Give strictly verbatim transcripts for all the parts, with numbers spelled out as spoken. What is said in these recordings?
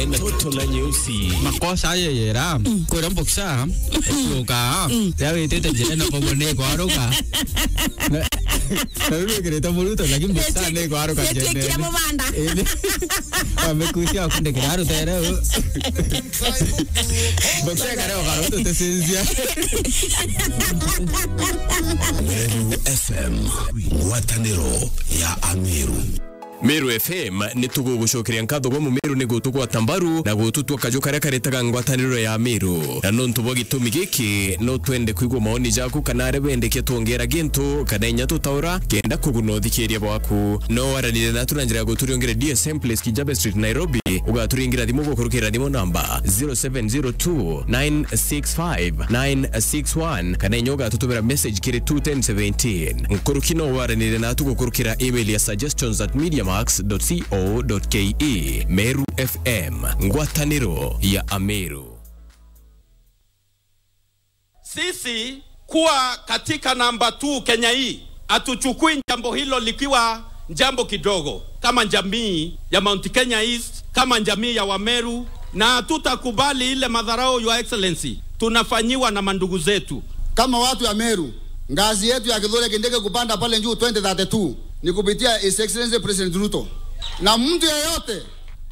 Toto na nyeusi. Makosa aye yera. Kwira mboksa. Tuka. Ya witite njira na kogo ni kwaruka. Na riu wikirite muruto, lakini mboksa ni kwaruka njira. Amekusia akundikira rutere. Mboksa kare okaruto tesinzia. Meru F M, ngwataniro ya Ameru. Meru F M ni tugugucokeria nkatho gwa Mumeru ni gutugwata mbaru na gututua kaju karia karetaga ngwataniro ya Meru. Na nontu bwa gitumi giki, no twende kwigua maoni jaku kana aria bendekia twongera gintu kana inya tutaura kenda kuguna uthikiria bwaku. No waranire natu na njira ya guturiongere D S M Place, Kijabe Street, Nairobi. Ugaturingira thimu gukurukira thimu namba zero seven zero two nine six five nine six one kana inya ugatutumira message kiri two ten seventeen. Nkuruki no waranire natu gukurukira email ya suggestions at mediamax dot co dot ke. Meru F M, ngwataniro ya Ameru. Sisi kuwa katika namba two Kenya hii, hatuchukui jambo hilo likiwa jambo kidogo kama jamii ya Mount Kenya East, kama jamii ya Wameru, na hatutakubali ile madharau, Your Excellency, tunafanyiwa na mandugu zetu. Kama watu ya Meru, ngazi yetu ya Kithure Kindiki kupanda pale juu twenty thirty-two ni kupitia His Excellency President Ruto. Na mtu yeyote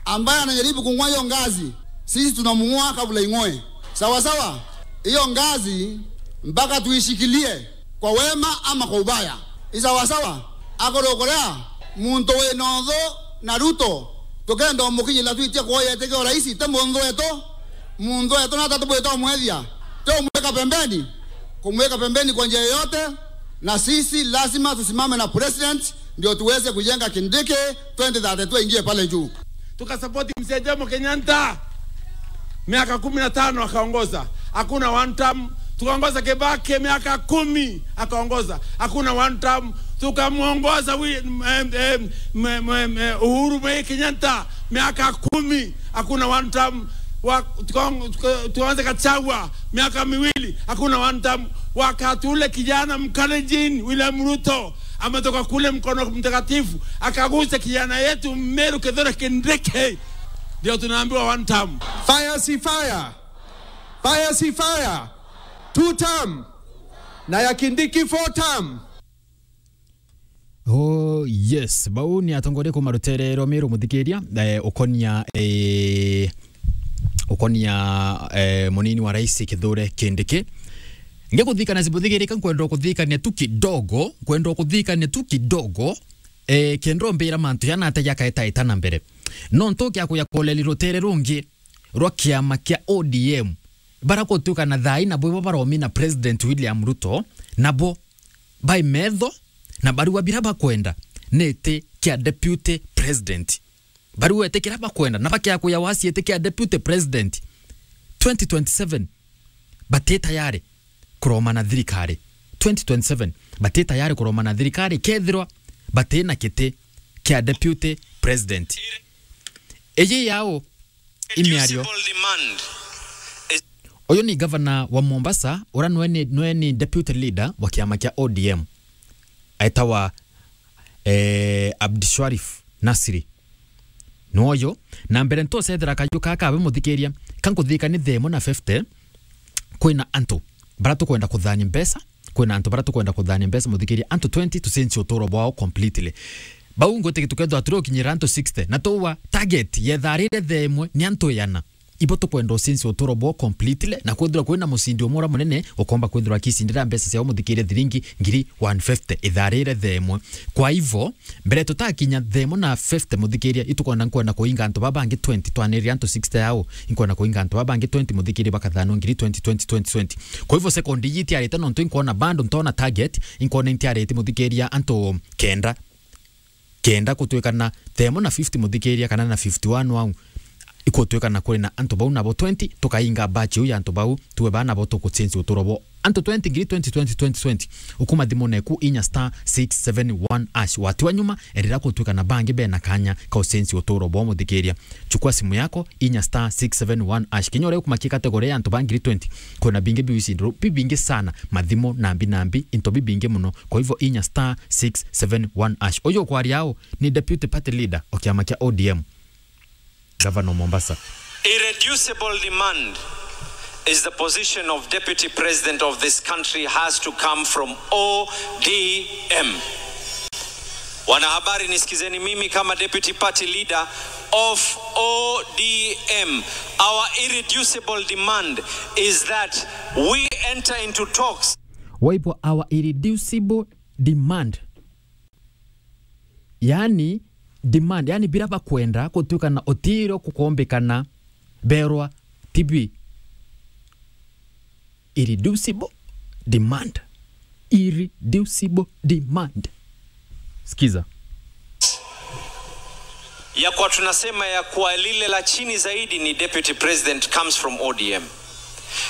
ambaye anajaribu kung'oa hiyo ngazi, sisi tunamng'oa kabla ing'oe. Sawa sawa? Hiyo ngazi mpaka tuishikilie kwa wema ama kwa ubaya. Ni sawa sawa? Akorokorea muntu wina uthu na Ruto, tukenda umukinyira twitie kuoya itikio raisi, ti muntu wetu. Muntu wetu nata tubwite umwethia, ti umwika pembeni. Kumweka pembeni kwa njia yoyote, na sisi lazima tusimame na president ndio tuweze kujenga Kindiki twenty thirty-two ingie pale juu. Tukasapoti Mzee Jomo Kenyatta, miaka kumi na tano akaongoza, hakuna one term. Tukaongoza Kibaki miaka kumi akaongoza, hakuna one term. Tukamuongoza wi-, em, em, m-, m-, m-, Uhuru Muigai Kenyatta miaka kumi, hakuna one term. Wa-, tukaong-, tuka-, tukaanza Gachagua miaka miwili, hakuna one term. Wakati ule kijana Mkalenjin William Ruto ametoka kule Mkono Mtakatifu, akagusa kijana yetu Meru Kithure Kindiki, ndio tunaambiwa one term. Fire si fire. Fire si fire. Two term. Na ya Kindiki four term. Oh yes, bau ni atongoria kuma rutere rwa Meru, muthikiria, eh, ukonia, eh, ukonia, eh, munini wa rais Kithure Kindiki. Ngikuthikania, sibuthikirika, nkwenda kuthikania tu kidogo, nkwenda kuthikania tu kidogo, eh, kenda umbira mantu jana atia jakaetaeta na mbere. Nontu kia kuya koleli rutere rungi rwa kiama kia O D M, bara gutuika na thaa ii nabo ibo baromina President William Ruto, nabo bai metho na barua bira bakwenda ni iti kia deputy president. Barua iti kira bakwenda na bakia kuya wasi iti kia deputy president. Twenty twenty-seven bati tayari kuromana thirikari. Twenty twenty-seven bati tayari kuromana thirikari kethirwa bati na kiti kia deputy president. Iji yao imiario. Uyu ni gavana wa Mombasa, ura nwe ni, nwe ni deputy leader wa kiama kia O D M. Aitawa, eh, Abdisharif Nasri. Nwoyo, na mbere ntosethera kaju kaka we muthikiria, kankuthika ni themo na fifty, kwina antu bara tukwenda kuthania mbeca, kwina antu bara tukwenda kuthania mbeca, muthikiria, antu twenty tucenjie uturo bwao completely. Bau ngwite tukethwa turi ukinyira antu sixty, na tuwa target yetharire themwe ni antu igana. Ibo tukwenda ucenjie uturo bwao completely, na kwithirwa kwina mucindi umwe ura munene, ukomba kwithirwa akicindira mbeca ciao muthikiria thiringi ngiri one fifty itharire themwe. Kwa hivyo, mbere tutakinya themo na fifty muthikiria, itukwenda nkwenda kuinga antu baba bangi twenty, twanirire antu sixty yao, inkwenda kuinga antu baba bangi twenty muthikiria bakathanwa ngiri twenty, twenty, twenty, twenty. Kwa hivyo second iji itiarite nontu inkwona bado ntona target, inkwona intiarite muthikiria antu kenda. Kenda gutwika na themo na fifty muthikiria kana na fifty-one wau, ikutwika na kuri na antu bau nabo twenty, tukainga batch iu ya antu bau, tuwe baa nabo tukucenjia uturo bwao. Antu twenty, ngiri twenty, twenty, twenty, twenty, ukuma thimune eku inya star six seven one hash. Watiwa nyuma, erira gutwika na bangi bena kanya ka ucenjia uturo bwao muthikiria. Chukua simu yako, inya star six seven one hash. Kinya uria ukumakia category ya antu ba ngiri twenty, kwina bingi biu ici nduru, bibingi sana, mathimo, nambi, nambi, into bibingi muno. Kwa hivyo, inya star six seven one hash. Uyu ukwaria au ni deputy party leader o kiama kia O D M. Governor Mombasa. Irreducible demand is the position of Deputy President of this country has to come from O D M. Wanahabari, nisikizeni mimi kama Deputy Party Leader of O D M. Our irreducible demand is that we enter into talks. Waibo our irreducible demand. Yani, demand, yani, bira bakwenda gutwika na utiro kukombekana berwa T B. Irreducible demand. Irreducible demand. Sikiza. Ya kwa tunasema ya kwa lile la chini zaidi ni Deputy President comes from O D M.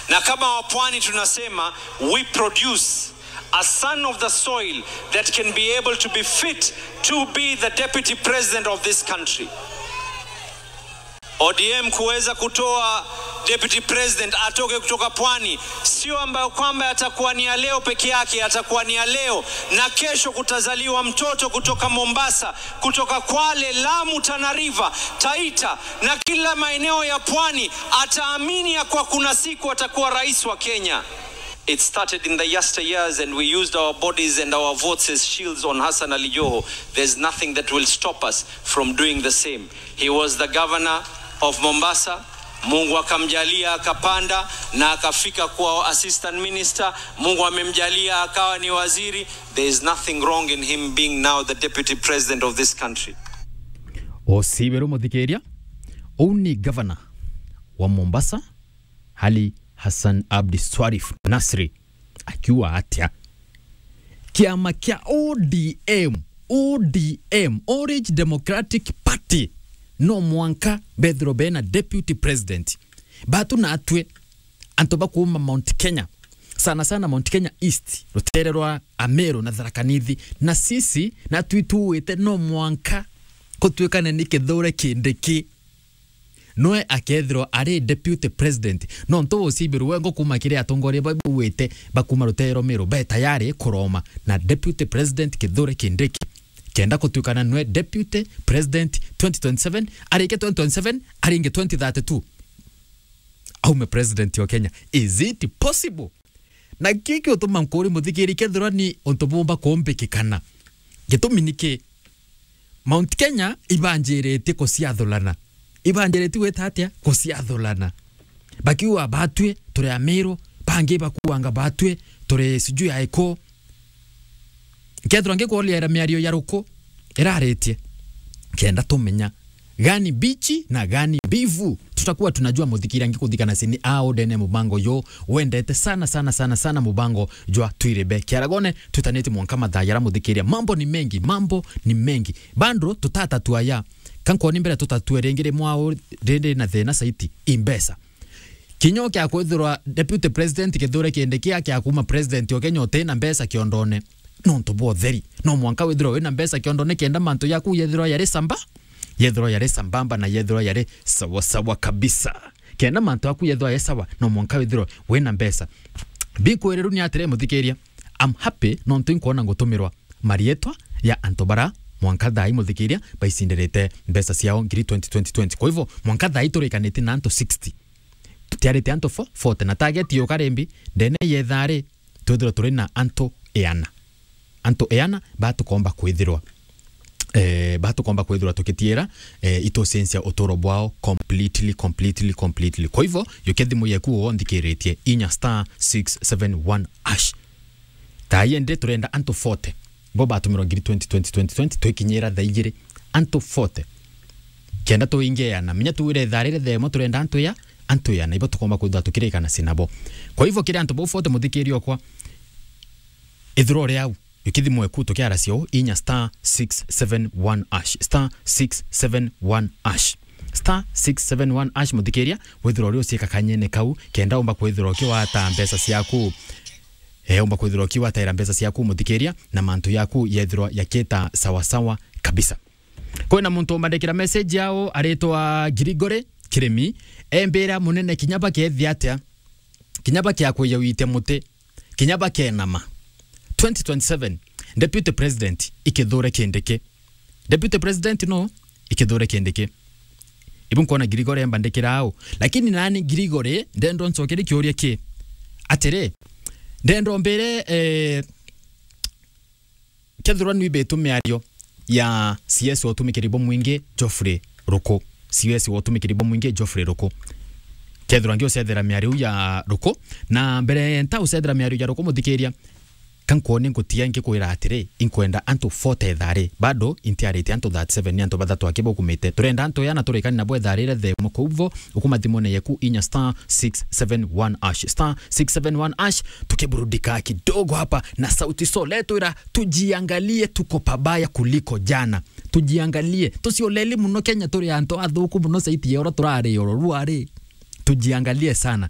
Na kama wapwani tunasema, we produce a son of the soil that can be able to be fit to be the Deputy President of this country. O D M kuweza kutoa Deputy President atoke kutoka pwani, sio ambayo kwamba yatakuwa ni ya leo peke yake, yatakuwa ni ya leo na kesho. Kutazaliwa mtoto kutoka Mombasa, kutoka Kwale, Lamu, Tana River, Taita na kila maeneo ya pwani, ataamini ya kwa kuna siku atakuwa rais wa Kenya. It started in the yesteryears and we used our bodies and our votes as shields on Hassan Ali Joho. There's nothing that will stop us from doing the same. He was the governor of Mombasa. Mungu akamjalia akapanda na akafika kuwa assistant minister. Mungu amemjalia akawa ni waziri. There is nothing wrong in him being now the deputy president of this country. Osiberu muthikiria, uu ni governor wa Mombasa, Ali Hassan Abdi Swarif Nasri, akiuga atia? Kiama kia O D M, O D M, Orange Democratic Party, no mwanka bethirwe bena deputy president. Batu natwe, antu ba kuuma Mount Kenya, sana sana Mount Kenya East, rutere rwa Ameru na Tharaka Nithi, na sisi natwi tuwite no mwanka kutwikane ni Kithure Kindiki. Noe akethirwa ari deputy president. Nontu ucibirwe wengo kuma kiri atongoria ba bauite ba kuma rutere rwa Meru be tayari kuroma na deputy president Kithure Kindiki, kenda kutwikana nwe deputy president twenty twenty-seven, arike twenty twenty-seven, aringe twenty thirty-two, aume president wa Kenya. Is it possible? Na kiki utuma nkuri muthikiri, kethirwa ni untu bumba kumbikikana, gitumi niki? Mount Kenya ibanjiritie kuciathurana. Ibanjiritie gwita atia? Kuciathurana. Bakiuga batwi turi Amiru, bangi bakuanga batwi turi sijui aiku. Nkethirwa ngikuuria miario ya ruku iraritie, kenda tumenya gani mbichi na gani mbivu. Tutakuwa tunajua, muthikiria ngikuthikana cini au ndene mubango yo wendete sana, sana, sana, sana, mubango jwa Twiribe Kiaragone. Twitanite mwanka mathaa yara muthikiria. Mambo ni mengi, mambo ni mengi. Bado tutatatua ya. Kankoni mbere tutatue ringi rimwe au rindi na thina saiti imbesa. Kinya kia kwithirwa Deputy President Kithure Kindiki kia kuma President o Kenya uti na mbeca kiondone. Nontu bwa utheri. No mwanka withirwa wina mbeca kiondone kenda mantu yaku yethirwa yari samba, yethirwa yari sambamba na yethirwa yari sawa sawa kabisa. Kenda mantu yaku yethirwa yari sawa, no mwanka withirwa wina mbeca. Bikwiriru ni atiri, muthikiria, I'm happy nontu inkwona ngutumirwa marietwa ya antu bara mwanka thaa ii, muthikiria, baicindirite mbeca ciao ngiri twenty twenty twenty. Kwa hivyo, mwanka thaa ii turikanitie na antu sixty. Tutiarite antu fo-, forty, na target yuka rimbi, ndene yethaa ri, twithirwa turi na antu iana. Antu iana batukomba kwithirwa, eh, batukomba kwithirwa tukitiira, eh, itucensia uturo bwao completely, completely, completely. Kwa hivyo, yuke thimu yeku wo nthikiritie, inya star six seven one hash. Thaa ii ndi turenda antu forty. Bo batumirwa ngiri twenty, twenty, twenty, twenty, twikinyira thaa igiri. Antu forty. Kenda tuingeana. Minya tuwire thaa riri thaa imwe turenda antu ya, antu ya, na ibo tukomba kwithirwa tukirikana cinabo. Kwa hivyo, kiri antu bau forty, muthikiria okwa, ithirwa uri au, yuke thimu eku tukiara cio, inya star six seven one hash, star six seven one hash. Star six seven one hash, muthikiria, withirwa uri uciika kanyene kau, kenda umba kwithirwa ukiwata mbeca ciaku. Eh, umba kwithirwa ukiwataira mbeca ciaku, muthikiria, na mantu yaku yethirwa yakita sawa sawa kabisa. Kwina muntu umbandikira message yao aritwa Gregory Kirimi, embira, munene, kinya bakethia atia, kinya bakiakwiya witia muti, kinya bakenama. Twenty twenty-seven, Deputy President i Kithure Kindiki. Deputy President no i Kithure Kindiki. Ibu nkona Gregory embandikira au. Lakini nani Gregory, ndendo ncokere kiuria ki. Atiri, ndendo mbire, eh, kethirwa nwibitu miario ya C S wa utumikiri bumwingi Geoffrey Ruku. C S wa utumikiri bumwingi Geoffrey Ruku. Kethirwa ngiucethera miario iu ya Ruku. Na mbere nta ucethera miario ya Ruku muthikiria, ka nkwone ngutia ngikwira atiri, inkwenda antu forty ethari. Bado intiarite antu thirty-seven ni antu bathatu aki baukumite. Turenda antu yana turikani nabo etharire the mukouvo, ukuma thimone yeku inya star six seven one hash. Star six seven one hash, tukiburudika kidogo hapa na Sauti Sol. Etwira, tujiangalie, tuko pabaya kuliko jana. Tujiangalie. Tucioleli muno Kenya turi antu athuku muno saiti ya ura turari oro ruari. Tujiangalie sana.